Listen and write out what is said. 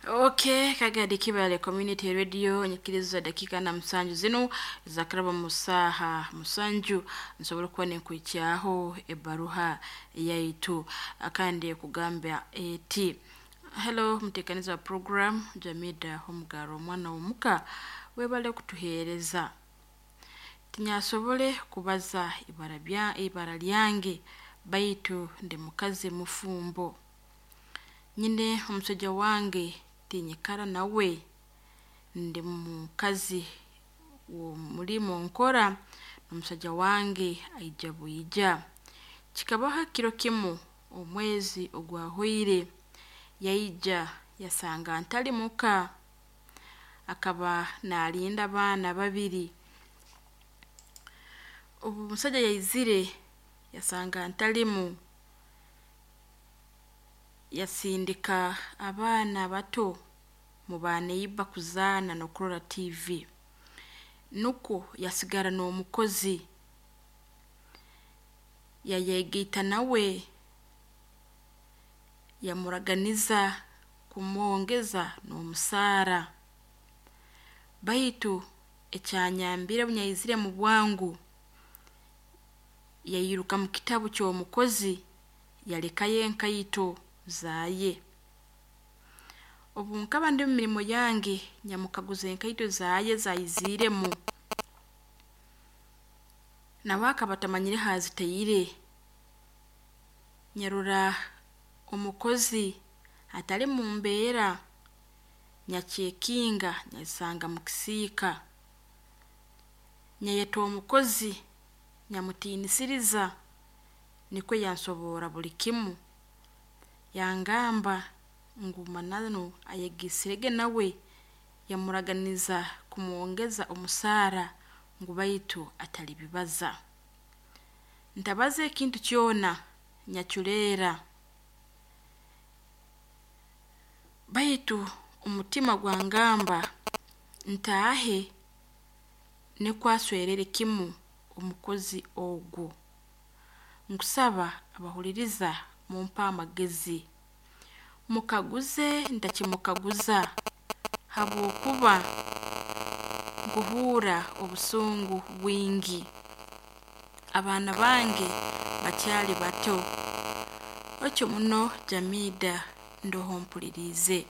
Okay, Kagadi Kibale Community Radio, nyikiriza dakika na musanju zinu zakaraba musaha musanju nsobora kuba nenkwikyaho ebaruha yaitu kandi kugamba eti hello mutekaniza wa program Jamida Homugaro omwana w'omuka webale kutuheereza. Tinyasobole kubaza ibara bya ibara lyange baitu ndi mukazi mufumbo. Nyine omusajja wange tinyikara nawe, ndi mukazi w'omulimo nkora n'omusajja wange aija bwija. Kikabaho kiro kimu omwezi ogwahwaire yaija yasanga ntali muka, akaba naalinda abaana babiri. Obu omusajja yaizire yasanga ntalimu, yasindika abaana bato mu baneiba kuzaana n'okurora tiivi. Nukwo yasigara n'omukozi, yayegaita nawe, yamuraganiza kumwongeza n'omusaara. Baitu ekyanyambire obu yaizire mu bwangu, yairuka mu kitabu ky'omukozi yalekayo enkaito zaaye. Obu nkaba ndi mu mirimo yange nyamukaguza enkaito zaaye ezaiziiremu, nawe akaba atamanyire haazitaire. Nyarora omukozi atali mu mbeera, nyakyekinga nyazisanga mu kisiika. Nyayeta omukozi nyamutiinisiriza nikwo yansoborra buli kimu, yangamba ngu mananu ayegaisirege nawe yamuraganiza kumwongeza omusaara ngu baitu atalibibaza. Ntabaze ekintu kyona, nyaculeera baitu omutima gwangamba ntaahe nukwo aswerere kimu omukozi ogu. Nkusaba abahuliriza mumpe amagezi, mukaguze ntakimukaguza habwokuba nkuhuura obusungu bwingi. Abaana bange bakyali bato, otyo muno Jamida ndoho mpuliriize.